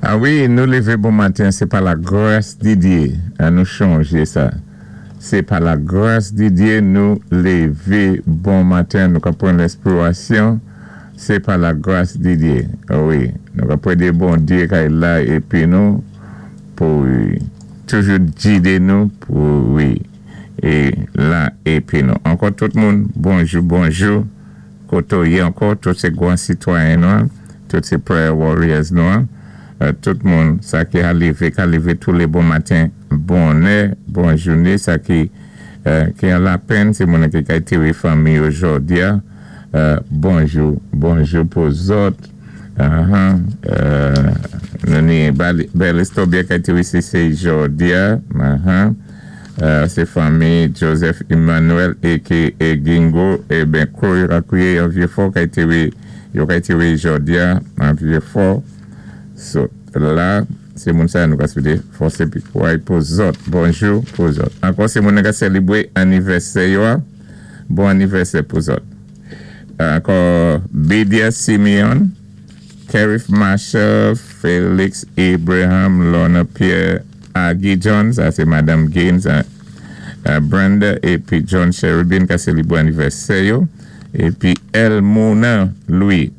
A wi, nou lévé bon maten, sé pa la gras di Dyé. An nou chanjé sa. Sé pa la gras di Dyé nou lévé bon maten, nou ka pran lèspirasyon. Sé pa la gras di Dyé. A wi, nou ka prédé bon Dyé kay la épi nou pou toujou gidé nou pou wi é la épi nou. Ankò tout moun, bonjou, bonjou. Koto yé ankò, tout sé gwan sitwayen nou, tout sé prayer warriors nou, tout moun sa ki a lévé, ka lévé tou lé bon maten, bonnè, bon jouné, sa ki ki an lapenn, sé moun ki kay téwé fanmi yo jòdi a, bonjou, bonjou pou zòt. Nou ni bèl istòbyè kay téwé sé jòdi a, sé fanmi Joseph Emmanuel aka Gingo, é ben kou yo ka kwiyé an Vyé-Fò kay téwé yo kay téwé jòdi a an Vyé-Fò. So la sé moun sa nou ka swété fòs épi kouray pou zòt. Bonjou pou zòt. Ankò sé moun ka sélébwé anivèsè yo a. Bon anivèsè pou zòt. Ankò Bidia Simeon, Kerif Marshall, Felix Abraham, Lorna Pierre, Aggie John, sa sé Madame Gaines, Brenda épi John Cherubin ka sélébwé anivèsè yo. Épi Elmona Louis,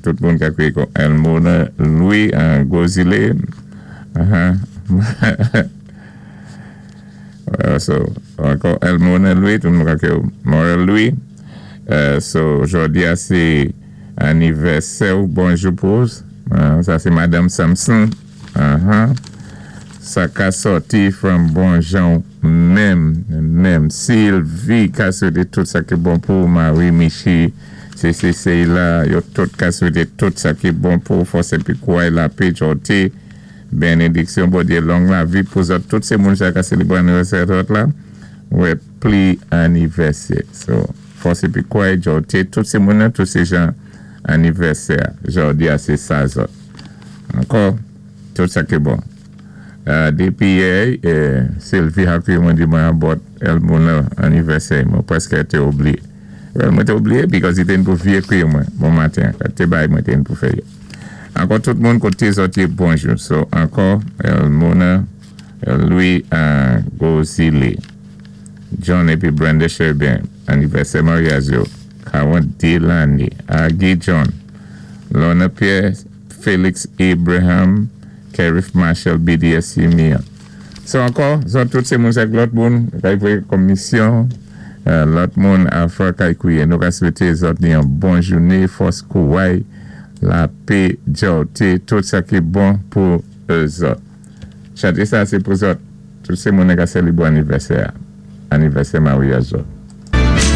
tout moun ka kwiyé kon Elmona Louis an Gozile. So, ankò Elmona Louis, tout moun ka kwiyé Morel Louis. So, jòdi a sé anivèsè ou, bonjou pou sa sé Madame Samson. Sa ka sòti from bon jan menm, menm. Sylvie ka swété tout sa ki bon pou Marie Michi, CC Seyla, yo tout ka swété tout sa ki bon pou fòs épi kouray lapé jòté, bénédiksyon bon Dyé, long lavi pou zòt. Tout sé moun sa ka sélébwé anivèsè zòt la, wè pli anivèsè. So, fòs épi kouray jòté, tout sé moun nan, tout sé jan anivèsè jòdi a sé sa zòt. Ankò, tout sa ki bon. Dépi yè, Sylvie a kwiyé mwen di mwen about Elmona anivèsè, mwen prèské té oubliyé. Well, mwen té oubliyé because i té pou vyé kwiyé mwen bon maten, té bay mwen té pou fè yo. Ankò tout moun koté zòt yé bonjou. So, ankò Elmona Louis Gozile, John épi Brenda Cherubin, anivèsè maryaj yo, 42 lanné. Aggie John, Lorna Pierre, Felix Abraham, Kerif Marshall, BDS Simeon. So ankò, zòt tout sé moun sa lòt moun kay voyé komisyon, lòt moun afè kay kwiyé. Nou ka swété zòt ni yon bon jouné, fòs kouray, lapé, djòté, tout sa ki bon pou zòt. Chanté sa sé pou zòt. Tout sé moun ka sélébwé anivèsè, anivèsè maryaj zòt.